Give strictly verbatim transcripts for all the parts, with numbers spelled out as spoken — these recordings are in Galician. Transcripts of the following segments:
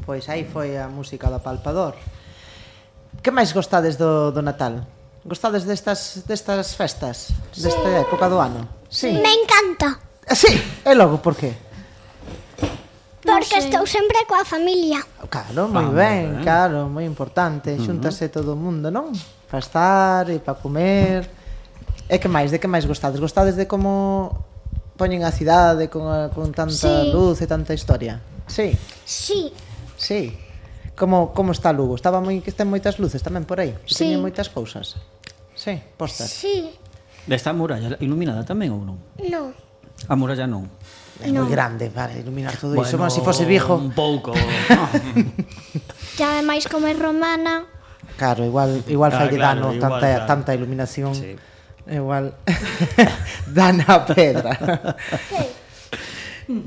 Pois aí foi a música do Apalpador. Que máis gostades do, do Natal? Gostades destas, destas festas? Sí. Desta época do ano? Sí. Me encanta. Sí, e logo, por que? Porque no estou sempre coa familia. Claro, moi ah, ben, ben, claro, moi importante. Xúntase uh-huh. todo o mundo, non? Para estar e para comer. E que máis? De que máis gostades? Gostades de como poñen a cidade con, a, con tanta sí. luz e tanta historia? Sí. Sí. Sí. Como, como está Lugo? Estaba moi, que ten moitas luces tamén por aí? Sí. Teñen moitas cousas? Sí, postas? Sí. Está a muralla iluminada tamén ou non? Non. A muralla non? É no. moi grande para iluminar todo bueno, iso, como se si fose Vigo. Un pouco, no. Ya ademais como é romana. Claro, igual igual ah, fai claro, dano igual, tanta claro. tanta iluminación. Sí. Igual dana a pedra. Sí.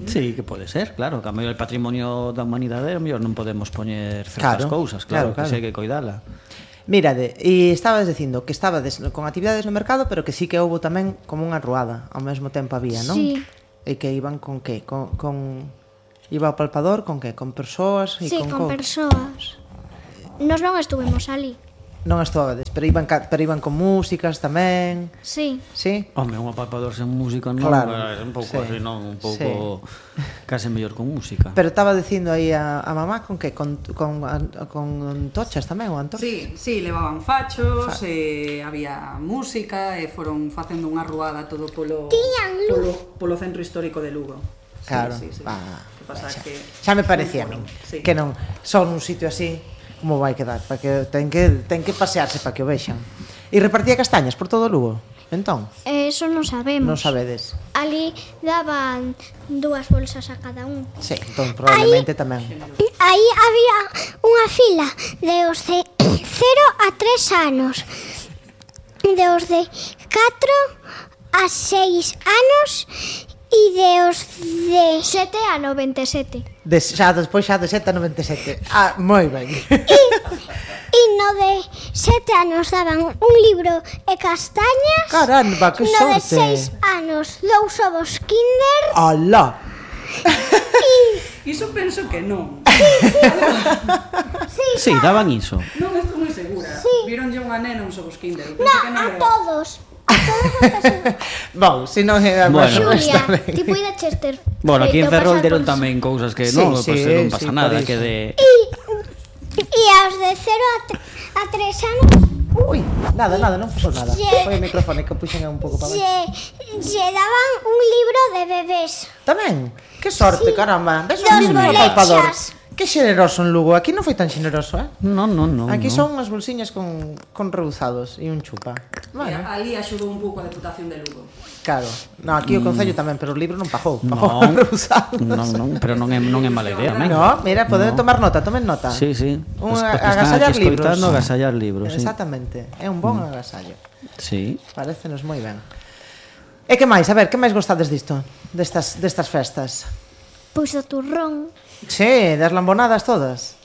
Sí, que pode ser, claro, que a mellor o patrimonio da humanidade, a mellor non podemos poñer certas claro, cousas, claro, claro, claro. que sei que coidala. Mírade, e estabas dicindo que estabades con actividades no mercado, pero que sí que houbo tamén como unha ruada, ao mesmo tempo había, non? Sí. E que iban con que? Con, con... Iba ao palpador con que? Con persoas? E sí, con, con co... persoas. Nos non estuvemos ali. Non estuvades, pero iban, pero iban con músicas tamén. Sí. Sí? Home, un palpador sen música non, claro. É un pouco sí. así, non, un pouco sí. case mellor con música. Pero estaba dicindo aí a, a mamá con que? Con, con, con tochas tamén, ou antorchas? Sí, sí, levaban fachos, Fa. e había música, e foron facendo unha ruada todo polo, polo, polo centro histórico de Lugo. Claro, sí, sí, sí. Ah, que pasa xa, que xa me parecía a min sí. que non, son un sitio así como vai quedar, para que ten que ten que pasearse para que o vexan. E repartía castañas por todo o Lugo. Entón, eso non sabemos. Non sabedes. Ali daban dúas bolsas a cada un. Sí, entón probablemente aí, tamén. Aí había unha fila de os de cero a tres anos, de os de catro a seis anos e de os de sete a noventa e sete. De, xa despois xa de sete a noventa e sete. Ah, moi ben. E, e no de sete anos daban un libro e castañas. Caramba, que no sorte. No de seis anos dous ovos Kinder. Alá. E iso penso que non. Sí, sí, daban iso. Non estou moi segura. Sí. Vironlle unha nena uns ovos Kinder. No, que non a era. todos. Bon, se non é bueno, Xulia, tipo de Chester. Bueno, aquí en Ferrol deron tamén cousas que sí, non, sí, pues, non pasa sí, nada, que de E e aos de cero a tres anos. Ui, nada, nada, non pasou nada. Foi o micrófono que puxen un pouco para lle, lle daban un libro de bebés. Tamén? Que sorte, sí. Caramba. Ves un Dos libro palpador. bolechas. Que xeneroso en Lugo. Aquí non foi tan xeneroso, eh? Non, non, non. Aquí no. son unhas bolsiñas con, con reuzados e un chupa. Bueno. Ali axudou un pouco a Deputación de Lugo. Claro. No, aquí o Concello mm. tamén, pero o libro non pagou. Pagou non, reusados. Non, non, pero non é, non é mala idea, non? No, mira, poden no. tomar nota, tomen nota. Sí, sí. Un agasallar libros. Agasallar libros, sí. Exactamente. É un bon mm. agasallo. Sí. Parécenos moi ben. E que máis? A ver, que máis gostades disto? Destas, destas festas? Pois o turrón. Sí, das lambonadas todas.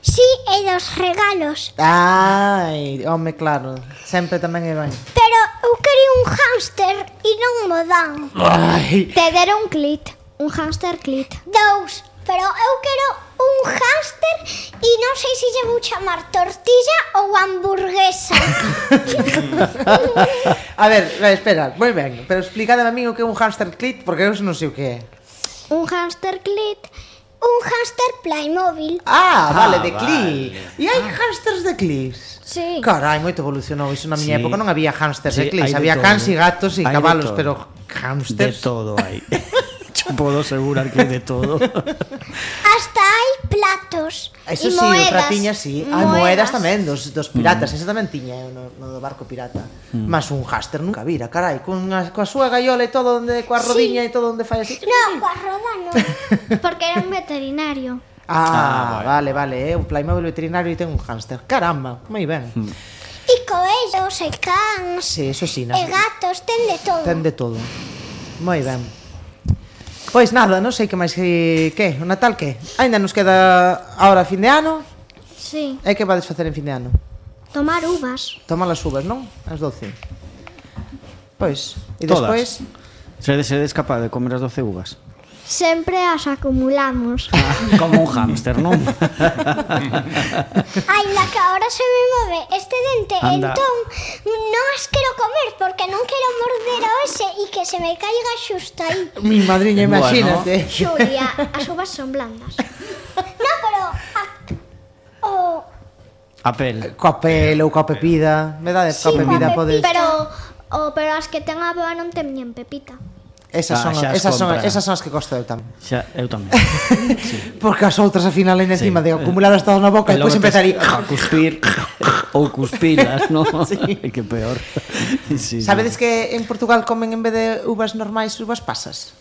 Sí, e dos regalos. Ai, home, claro. Sempre tamén é ben. Pero eu quería un hámster e non mo dan. Ai. Te deron un clit. Un hámster clit. Dous. Pero eu quero un hámster e non sei se lle vou chamar tortilla ou hamburguesa. A ver, espera, moi ben. Pero explícame a mí o que é un hámster clit, porque eu non sei o que é. Un hámster clit, un hámster Playmobil. Ah, vale, ah, de clip. Vale. E hai ah. hámsters de clips? Sí. Carai, moito evolucionou. Iso na miña Sí. época non había hámsters Sí, de clips. hai de Había todo. cans e gatos e Hai de cabalos, todo. pero De hámsters... todo hai. Yo podo asegurar que de todo. Hasta hai platos. Eso e sí, moedas. outra tiña sí. Hai moedas tamén dos, dos piratas. Mm. Esa tamén tiña eu no, no do barco pirata. Mm. Mas un hámster nunca vira, carai. Con a, coa súa gaiola e todo, onde, coa rodiña sí. e todo onde fai así. No, coa roda non. Porque era un veterinario. Ah, Ah, vale, vale. É un Playmobil veterinario e ten un hámster. Caramba, moi ben. Mm. E coellos, e cans, Sí, eso sí. e gatos, ten de todo. Ten de todo. Moi ben. Pois nada, non sei que máis que... Que? O Natal que? Ainda nos queda ahora fin de ano. Sí. E que vades facer en fin de ano? Tomar uvas. Tomar as uvas, non? As doce. Pois, e Todas. despois... Sedes, sedes capaz de comer as doce uvas? sempre as acumulamos. Ah, como un hámster, non? Ai, la que ahora se me move este dente, Anda. entón non as quero comer porque non quero morder a ese e que se me caiga xusto aí. Mi madriña, Bueno. imagínate. Xulia, as uvas son blandas. No, pero a, o A pel. Coa pel ou coa pepida. Me dades coa Sí, pepida, coa podes... pero o pero as que ten a boa non teñen pepita. Esas Ah, son, xa as esas son, compra. esas son as que gosto eu tamén. Xa, eu tamén. Porque as outras ao final ainda encima Sí. de acumulalas todas na boca e depois empezar aí. a cuspir ou cuspilas, non? Sí. Que peor. Sí, Sabedes que en Portugal comen en vez de uvas normais uvas pasas?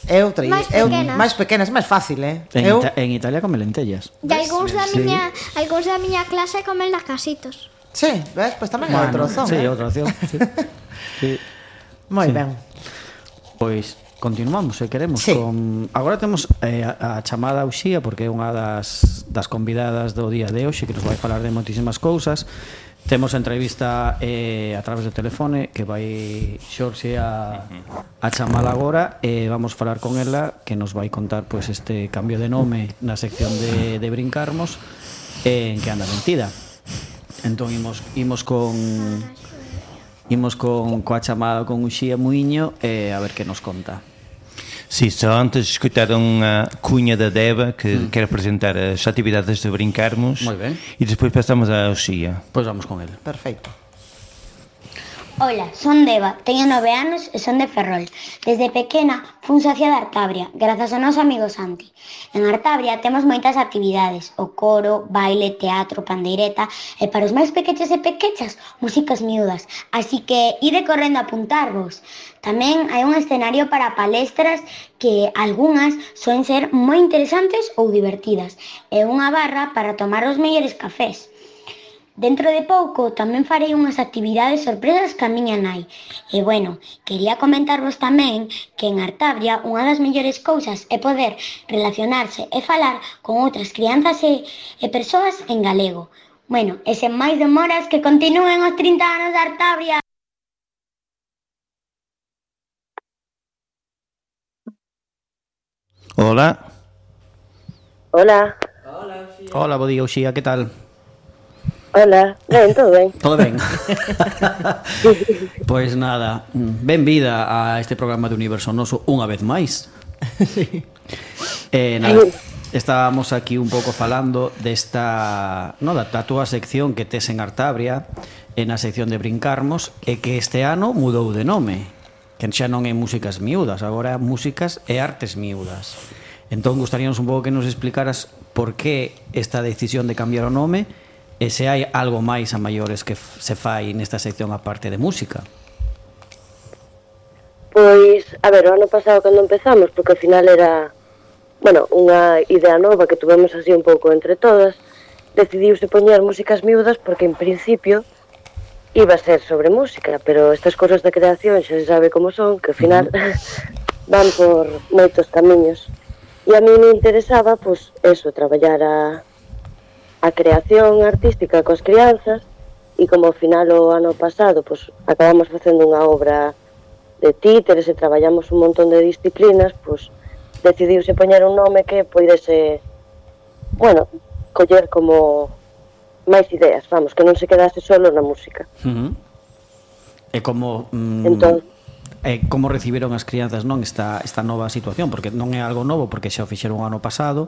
É outra, Máis é pequenas. máis pequenas, máis fácil, eh? En, Eu Ita en Italia come lentellas. E algúns da Sí. miña, algúns da miña clase comen lacasitos. Sí, ves? Pois tamén é outra opción, Sí, eh? outra opción. Sí. Sí. Moi Sí. ben. Pois continuamos, se queremos Sí. con... Agora temos eh, a, a chamada a Uxía porque é unha das, das convidadas do día de hoxe que nos vai falar de moitísimas cousas. Temos a entrevista eh, a través do telefone que vai Xorxe a, a chamala agora e vamos falar con ela que nos vai contar pois, este cambio de nome na sección de, de Brincarmos eh, en que anda mentida. Entón imos, imos con... Imos con coa chamada con Uxía Muiño e a ver que nos conta. Sim, só antes escutaram a cunha da Deba, que hum. quer apresentar as atividades de Brincarmos. Moi ben. E depois passamos a Uxía. Pois vamos con ele. Perfecto. Ola, son Deba, teño nove anos e son de Ferrol. Desde pequena fun socia de Artabria, grazas ao noso amigo Santi. En Artabria temos moitas actividades, o coro, baile, teatro, pandeireta e para os máis pequeches e pequechas, músicas miúdas. Así que ide correndo a apuntarvos. Tamén hai un escenario para palestras que algunhas soen ser moi interesantes ou divertidas e unha barra para tomar os mellores cafés. Dentro de pouco tamén farei unhas actividades sorpresas ca miña nai. E bueno, quería comentarvos tamén que en Artabria unha das mellores cousas é poder relacionarse e falar con outras crianzas e, e persoas en galego. Bueno, e sen máis demoras que continúen os trinta anos de Artabria. Hola. Hola. Hola, bo día, Uxía, que tal? Hola, ben, todo ben. Todo ben? Pois nada, benvida a este programa de Universo Noso unha vez máis. Sí. Eh, nada, estábamos aquí un pouco falando desta, no, da, da túa sección que tes en Artabria, en a sección de Brincarmos, e que este ano mudou de nome, que xa non é músicas miúdas, agora é músicas e artes miúdas. Entón, gustaríamos un pouco que nos explicaras por que esta decisión de cambiar o nome e se hai algo máis a maiores que se fai nesta sección aparte de música. Pois, a ver, o ano pasado cando empezamos, porque ao final era, bueno, unha idea nova que tuvemos así un pouco entre todas, decidiuse poñer músicas miúdas porque en principio iba a ser sobre música, pero estas cosas de creación xa se sabe como son, que ao final uh-huh. van por moitos camiños. E a mí me interesaba, pois, eso, traballar a a creación artística coas crianzas e como ao final o ano pasado pues, acabamos facendo unha obra de títeres e traballamos un montón de disciplinas, pues, decidiuse poñer un nome que poidese, bueno, coller como máis ideas, vamos, que non se quedase solo na música. Uh-huh. E como mm, entón, e como recibiron as crianzas non esta, esta nova situación, porque non é algo novo porque xa o fixeron o ano pasado.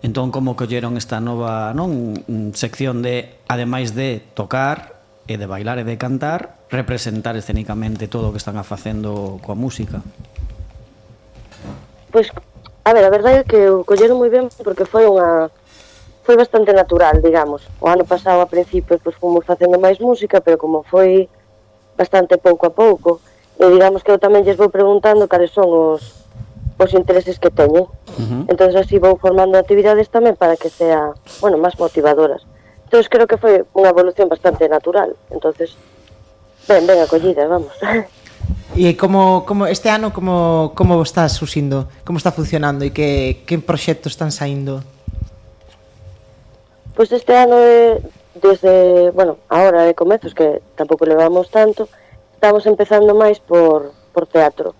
Entón, como colleron esta nova, non, sección de, ademais de tocar e de bailar e de cantar, representar escénicamente todo o que están a facendo coa música? Pois, a ver, a verdade é que o colleron moi ben porque foi unha foi bastante natural, digamos. O ano pasado, a principio, pois fomos facendo máis música, pero como foi bastante pouco a pouco, e digamos que eu tamén lles vou preguntando cales son os, os intereses que teñen. Uh-huh. Entón así vou formando actividades tamén para que sea, bueno, máis motivadoras. Entón creo que foi unha evolución bastante natural. Entón, ben, ben acollidas, vamos. E como, como este ano como, como está surxindo, como está funcionando e que, que proxectos están saindo? Pois este ano é, desde, bueno, ahora de comezos que tampouco levamos tanto, estamos empezando máis por, por teatro.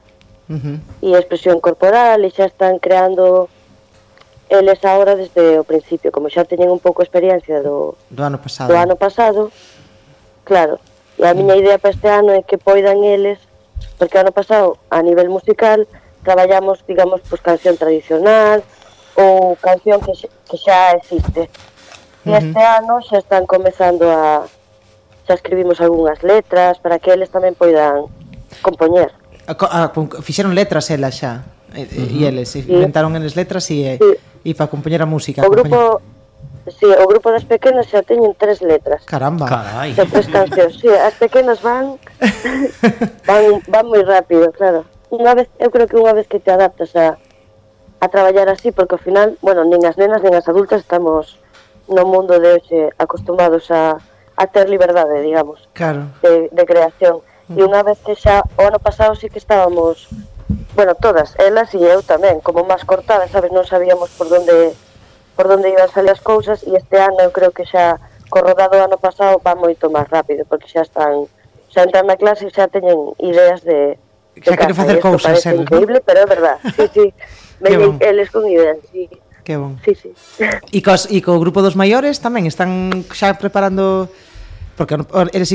Uh-huh. e expresión corporal, e xa están creando eles agora desde o principio, como xa teñen un pouco experiencia do, do ano pasado. do ano pasado, claro, e a miña idea para este ano é que poidan eles, porque o ano pasado a nivel musical traballamos, digamos, pues, canción tradicional ou canción que, que xa existe, e Uh-huh. este ano xa están comezando a xa escribimos algunhas letras para que eles tamén poidan compoñer. A, a, fixeron letras elas xa, e, uh-huh. e eles, e sí. inventaron eles letras e, sí. e para compoñer a música. O grupo, sí, o grupo das pequenas xa teñen tres letras. Caramba. Carai. De tres cancións. Sí, as pequenas van van, van moi rápido, claro. Unha vez, eu creo que unha vez que te adaptas a, a traballar así, porque ao final, bueno, nin as nenas nin as adultas estamos no mundo de hoxe acostumados a, a ter liberdade, digamos, claro. de, de creación. E unha vez que xa, o ano pasado sí que estábamos, bueno, todas, elas e eu tamén, como máis cortadas, sabes, non sabíamos por onde por onde iban salir as cousas, e este ano eu creo que xa, co rodado do ano pasado, va moito máis rápido, porque xa están, xa entran na clase e xa teñen ideas de, de xa queren facer cousas, parece eles, increíble, ¿no? Pero é verdad, sí, sí, veñen bon. eles con ideas, sí. Que bon. Sí, sí. E, cos, e co grupo dos maiores tamén están xa preparando, porque eles sí